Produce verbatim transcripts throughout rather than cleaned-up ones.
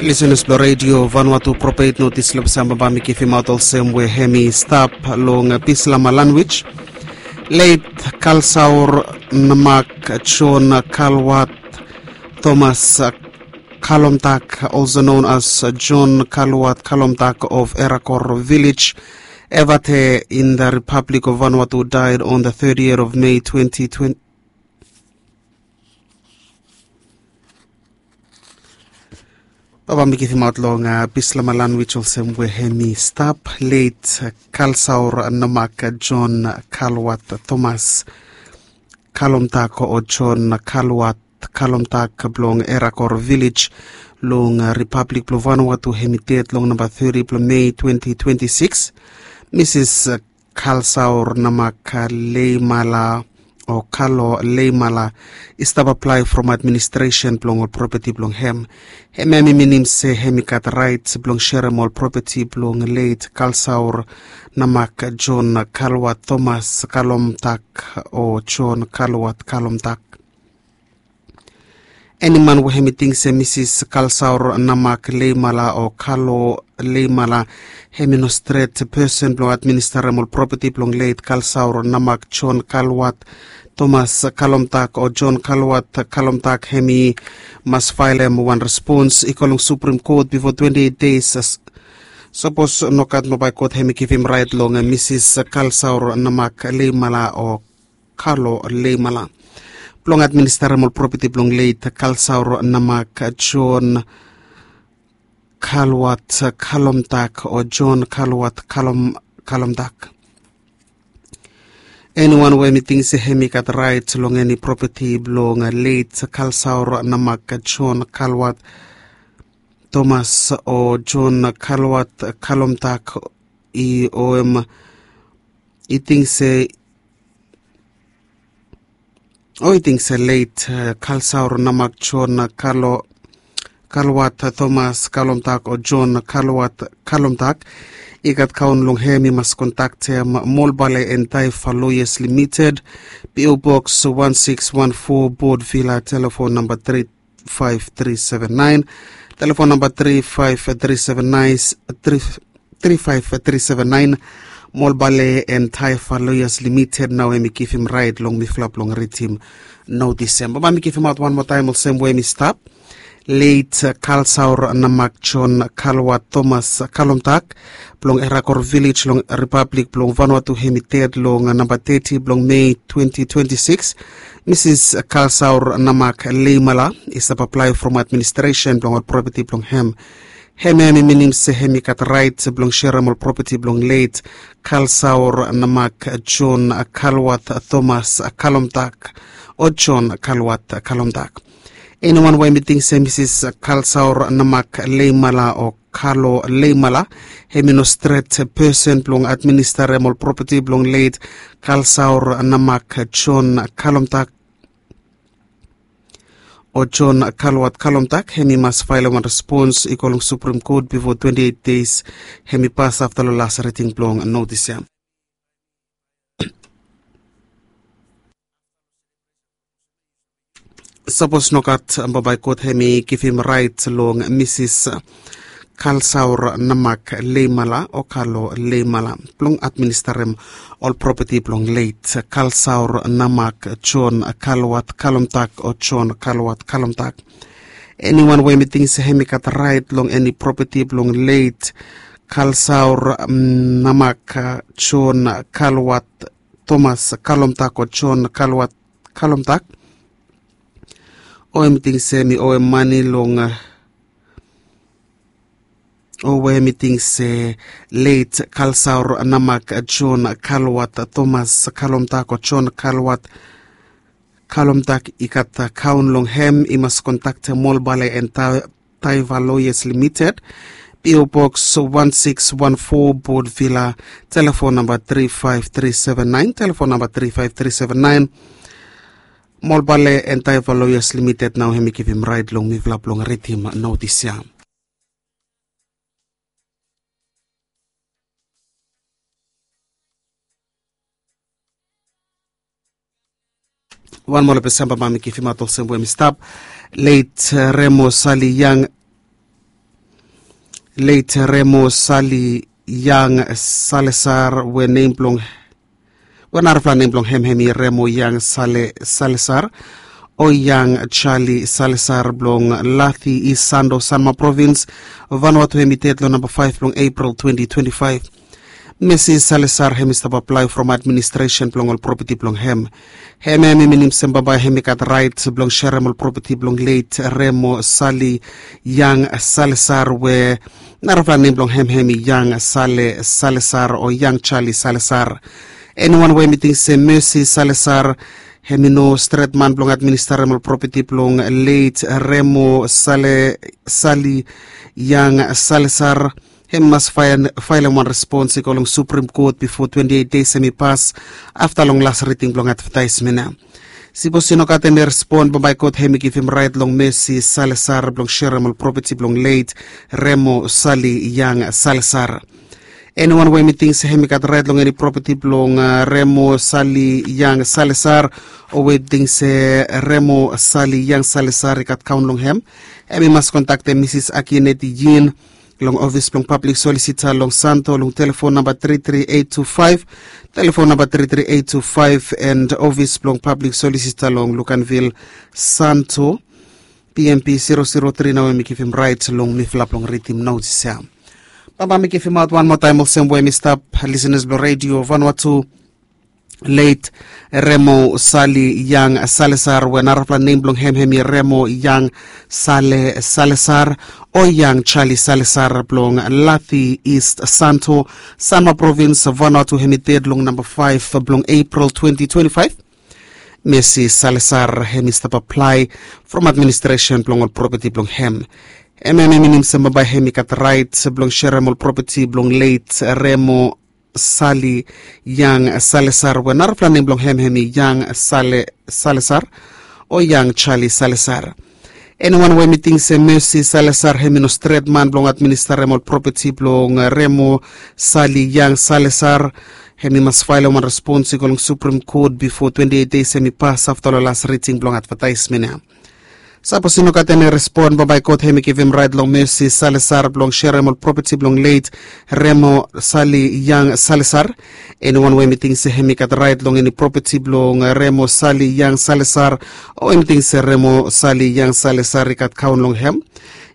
Lisenas blong redio Vanuatu, propet notis long samba bami kivimaot olsem we hemi stap long Bislama lanwij. Leit Kalsaur Namak John Kalwat Thomas Kalomtak, also known as John Kalwat Kalomtak of Erakor Village, Evate in the Republic of Vanuatu, died on the thirtieth of May twenty twenty. Baba mi kivimaot long Bislama lanwij olsem we hemi stap, leit Kalsaur Namak John Kalwat Thomas Kalomtak o John Kalwat Kalomtak blong Erakor Village long Republic blong Vanuatu, hemi ded long namba thirty blong Mei twenty twenty-six. Misis Kalsaur Namak Leimala o Kalo Leimala i stap aplae from administresen blong ol propeti blong hem. Hem hem i minim se hem i gat raet blong serem ol propeti blong leit Kalsaur Namak John Kalwat Thomas Kalomtak o John Kalwat Kalomtak. Eniman we hem i ting se Misis Kalsaur Namak Leimala o Kalo Leimala hem i no stret pesen blong administarem ol propeti blong leit Kalsaur Namak John Kalwat Thomas Kalomtak o John Kalwat Kalomtak, hem i mas faelem wan respons i go long Supreme Court bifo twenty-eight days. Sapos nogat, mo bae God hem i givim raet long Misis Kalsaur Namak Leimala o Kalo Leimala. Blong administarem ol propeti blong leit Kalsaur Namak John Kalwat Kalomtak o John Kalwat Kalom Kalomtak. Eniwan we hem i ting se hem i gat raet long eni propeti blong leit Kalsaur Namak John Kalwat Thomas o John Kalwat Kalomtak i o hem i ting se o i ting se leit Kalsaur Namak John Kalo Kalwat Thomas Kalomtak o John Kalwat Kalomtak i gat kaon long hem, i mas kontaktem Molbale and Taifa Lawyers Limited, P O Box one six one four, Port Vila, telefon namba three five three seven nine, telefon namba three five three seven nine, three five three seven nine. Molbale and Taifa Lawyers Limited nao hem i givim raet long mifala blong ridim notis ya. Baba mi givimaot wan moa taem olsem we hem i stap. Leit Kalsaur Namak John Kalwat Thomas Kalomtak blong Erakor Village long Republic blong Vanuatu, hem i ded long namba thirty blong Mei twenty twenty-six. Misis Kalsaur Namak Leimala i stap aplae from administresen blong ol propeti blong hem. Hem hem i minim se hem i gat raet blong serem ol propeti blong leit Kalsaur Namak John Kalwat Thomas Kalomtak o John Kalwat Kalomtak. Eniwan we hem i ting se Misis Kalsaur Namak Leimala o Kalo Leimala hem i no stret pesen blong administarem ol propeti blong leit Kalsaur Namak John Kalomtak o John Kalwat Kalomtak, hem i mas faelem wan respons i go long Supreme Court bifo twenty-eight days hem i pas afta long las riting blong notis ya. Sapos nogat, bambae God hem i givim raet long Misis Kalsaur Namak Leimala o Kalo Leimala blong administarem ol propeti blong leit Kalsaur Namak John Kalwat Kalomtak o John Kalwat Kalomtak. Eniwan we hem i ting se hem i gat raet long eni propeti blong leit Kalsaur Namak John Kalwat Thomas Kalomtak o John Kalwat Kalomtak, o hem i ting se hem i owem mane long o we hem i ting se leit Kalsaur Namak John Kalwat Thomas Kalomtak o John Kalwat Kalomtak i gat kaon long hem, i mas kontaktem Molbale and Taifa Lawyers Limited, P O Box one six one four, Port Vila, telefon namba three five three seven nine, telefon namba three five three seven nine. Molbale and Taifa Lawyers Limited nao hem i givim raet long mifala blong ridim notis ya. Wan moa long Desemba, bambae mi givimaot olsem we hem i stap. Leit Remo Sali Yang leit Remo Sali Yang Salesar we nem blong we narafala nem blong hem hemi Remo Yang Sale Salesar o Yang Charlie Salesar blong Lathi East Santo, Sanma Province, Vanuatu, hemi ded long namba faef blong April twenty twenty-five. Mesi Salesar hemi stap aplae from administresen blong ol propeti blong hem. Hem hemi minim se bambae hemi gat raet blong serem ol propeti blong leit Remo Sali Yang Salesar we narafala nem blong hem hemi Yang Sale Salesar o Yang Charlie Salesar. Eniwan we hemi ting se Mesi Salesar hemi no stret man blong administrem ol propeti blong leit Remo Sale Sali Yang Salesar, hem i mas faelem wan respons i go long Supreme Court bifo twenti eit deis hem i pas afta long las riding blong advetaesmen ya. Sipos i no gat eni respon, bambae God hem i givim raet long Mesi Salesar blong serem ol propeti blong leit Remo Sali Yang Salesar. Eniwan we hem i ting se hem i gat raet long eni propeti blong Remo Sali Yang Salesar o we hem i ting se Remo Sali Yang Salesar i gat kaon long hem, hem i mas kontaktem Misis Akineti Yin long ofis blong pablik solisita long Santo long telefon namba tri tri eit tu faef, telefon namba tri tri eit tu faef, and ofis blong pablik solisita long Luganville, Santo, P M P zero zero three nao hem i givim raet long mifala blong ridim notis ya. Bambae mi givimaot wan moa taem olsem we hem i stap, lisenas blong redio Vanuatu, leit Remo Sali Yang Salesar we narafala nem blong hem hemi Remo Yang Sale Salesar o Yang Charlie Salesar blong Lathi East Santo, Sanma Provins, Vanuatu, hemi ded long namba faef blong April twenti twenti faef. Mesi Salesar hemi stap aplae from administresen blong ol propeti blong hem. Hem hemi minim se bambae hemi gat raet blong serem ol propeti blong leit Remo Sali Yang Salesar we narafala nem blong hem hemi Yang Sale Salesar o Yang Charlie Salesar. Eniwan we hem i ting se Mesi Salesar hemi no stret man blong administrem ol propeti blong Remo Sali Yang Salesar, hem i mas faelem wan respons i go long Supreme Court bifo twenti eit deis hem i pas afta long las riding blong advetaesmen ya. Sapos i no gat eni respon, bambae God hem i givim raet long Mesi Salesar blong serem ol propeti blong leit Remo Sali Yang Salesar. Eniwan we hem i ting se hem i gat raet long eni propeti blong Remo Sali Yang Salesar o hem i ting se Remo Sali Yang Salesar i gat kaon long hem,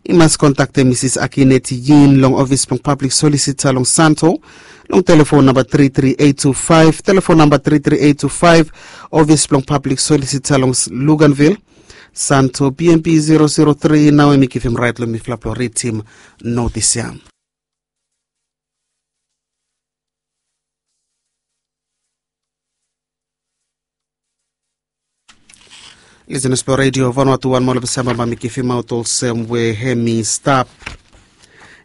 i mas kontaktem Misis Akineti Yin long ofis blong pablik solisita long Santo long telefon namba tri tri eit tu faef, telefon namba tri tri eit tu faef, ofis blong pablik solisita long Luganville, Santo, P M P zero zero three nao hem i givim raet long mifala blong ridim notis ya. Lisenas blong redio Vanuatu, wan moa long Disemba bambae mi givimaot olsem we hem i stap.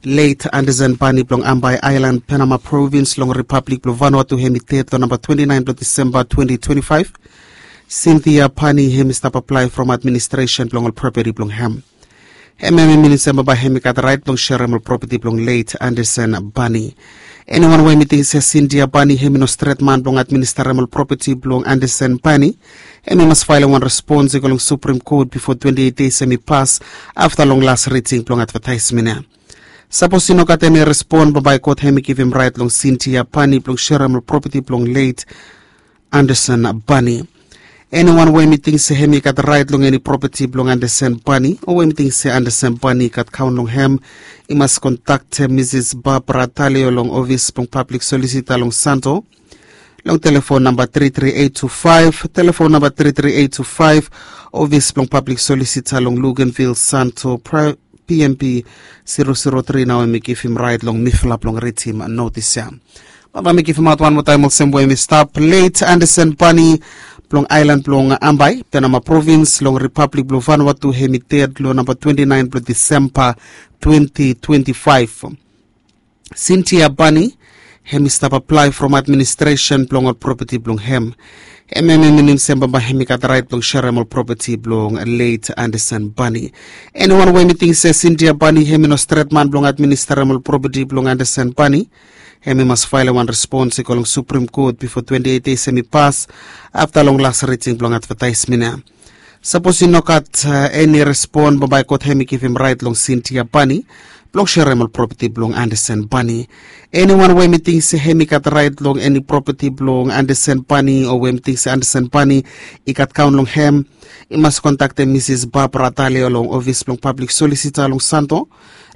Leit Anderson Bani blong Ambae Aelan, Penama Provins long Ripablik blong Vanuatu, hem i ded long namba twenti naen blong Disemba twenti twenti faef. Sintia Bani hem i stap aplae from administresen blong ol propeti blong hem. Hem hem i minim se bambae hem i gat raet blong serem ol propeti blong leit Anderson Bani. Eniwan we hem i ting se Sintia Bani hem i no stret man blong administrem ol propeti blong Anderson Bani, hem i mas faelem wan respons i go long Supreme Court bifo twenti eit deis hem i pas afta long las riding blong advetaesmen ya. Sapos i no gat eni respon, bambae God hem i givim raet long Sintia Bani blong serem ol propeti blong leit Anderson Bani. Eniwan we hem i ting se hem i gat raet long eni propeti blong Anderson Bani o we hem i ting se Anderson Bani i gat kaon long hem, i mas kontaktem Misis Barbara Talio long ofis blong pablik solisita long Santo long telefon namba tri tri eit tu faef, telefon namba tri tri eit tu faef, ofis blong pablik solisita long Luganville, Santo, P M P zero zero three nao hem i givim raet long mifala blong ridim notis ya. Bambae mi givimaot wan moa taem olsem we hem i stap. Leit Anderson Bani blong aelan blong Ambae, Penama Provins long Ripablik blong Vanuatu, hem i ded long namba twenti naen blong Disemba twenti twenti faef. Sintia Bani hem i stap aplae from administresen blong ol propeti blong hem. Hem hem i minim se bambae hem i gat raet blong serem ol propeti blong leit Anderson Bani. Eniwan we hem i ting se Sintia Bani hem i no stret man blong administrem ol propeti blong Anderson Bani, hem i mas faelem wan respons i go long Supreme Court bifo twenti eit deis hem i pas afta long las riding blong advetaesmen ya. Sapos i no gat eni respon, bambae God hem i givim raet long Sintia Bani blong serem ol propeti blong Anderson Bani. Eniwan we mi ting se hem i gat rait long eni propeti blong Anderson Bani o we mi ting se Anderson Bani i gat kaon long hem, i mas kontaktem Misis Barbara Talia long ofis blong pablik solisita long Santo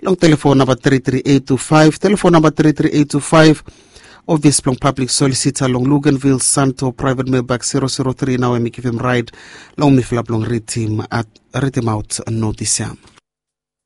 long telefon namba tri tri eight two five, telefon namba tri tri eight two five. Ofis blong pablik solisita long Luganville, Santo, private mailbox zero zero three, nao em i givim rait long mifala blong ritim at ritim aot notis ya.